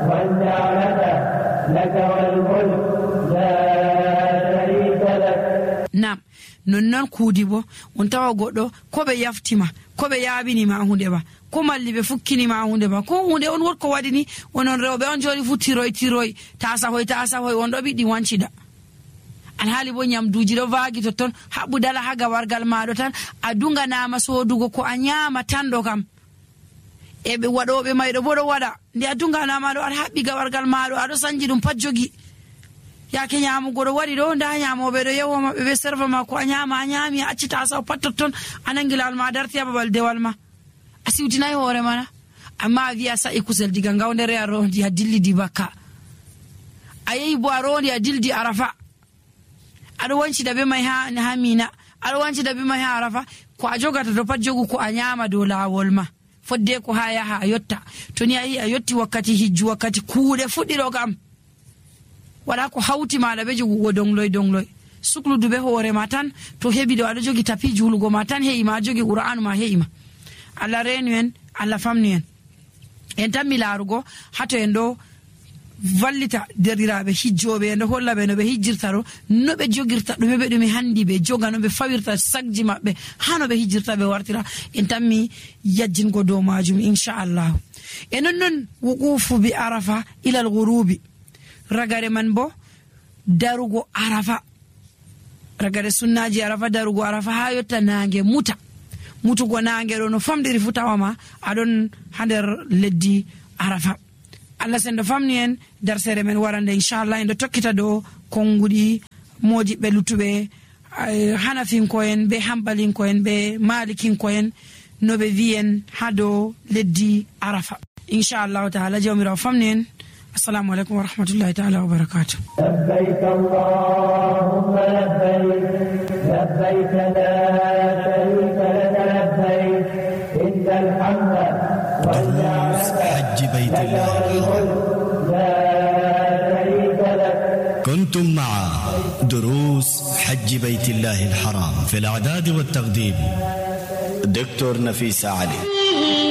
والنعمة لك والملك لا شريك لك. Nam non kuudi bo on tawa goɗɗo ko ɓe yaftima ko ɓe yaabinima hunde ba ko malli ɓe fukkinima hunde ba ko hunde on wotko waɗi ni onon rewɓe on joni fu tiroy tasahoy on ɗo ɓiɗɗi wancida alhaali bo nyamduji ɗo vaagi totton haɓɓu dala ha gawargal maɗo tan a dunganama sodugo ko a nyama tan ɗo kam e ɓe waɗoɓe mayɗo bo ɗo waɗa nde a dunganama ɗo aɗa haɓɓi gawargal maɗo aɗo sanji ɗum pat jogi yake nyamugo ɗo waɗi ɗo nda nyamoɓe ɗo yewo maɓɓe ɓe serva ma ko a nyama a nyami a acci tasaw pat totton a nangi lawol ma a darti ha babal dewal ma a siwtinayi hoore mana amma a wiya sa'i kusel diga ngawdere a rondi a dillidi bakka a yehi bo a rondi a dildi arafa aɗo wancida be mai ha mina aɗo wancida be mai ha arafa ko a jogata to pat jogu ko a nyama dow lawol ma fodde ko ha yaha a yotta to ni a yi a yotti wakkati hijju wakkati kuuɗe fuɗɗiɗo kam wala ko hawti maɗa be jogugo dongloy sukludu be hoore ma tan to heɓi ɗo aɗo jogi tapi julugo ma tan heƴima a jogi qur'anu ma heƴima Allah renu en Allah famnu en tan mi laarugo hato en ɗo vallita derɗiraɓe hijjoɓe en ɗo holla ɓe no ɓe hijjirta ɗo no ɓe jogirta ɗume ɓe ɗume handi ɓe joga no ɓe fawirta sagji maɓɓe ha no ɓe hijjirta ɓe wartira en tan mi yajjingo dow majum inchallahu e nonnon wuqufu bi arafa ilal ghurubi ragare man bo darugo arafa ragare sunnaji arafa darugo arafa ha yotta nange mutugo nange ɗo no famɗiri fu tawama aɗon ha nder leddi arafa Allah sendo famni en darsere men warande inchallah en ɗo tokkita ɗo konguɗi modiɓɓe lutuɓe hanafinkoen be hambalinkoen be malikinkoen no ɓe wiyen ha dow leddi arafa inchallahu taala jawmirawo famni en. Assalamu alaikum wa rahmatullahi ta'ala wa barakatuh. لبيك اللهم لبيك لبيك لا شريك لك لبيك إن الحمد والنعمة حج بيت الله لا شريك لك. كنتم مع دروس حج بيت الله الحرام في الإعداد والتقديم دكتور نفيس علي.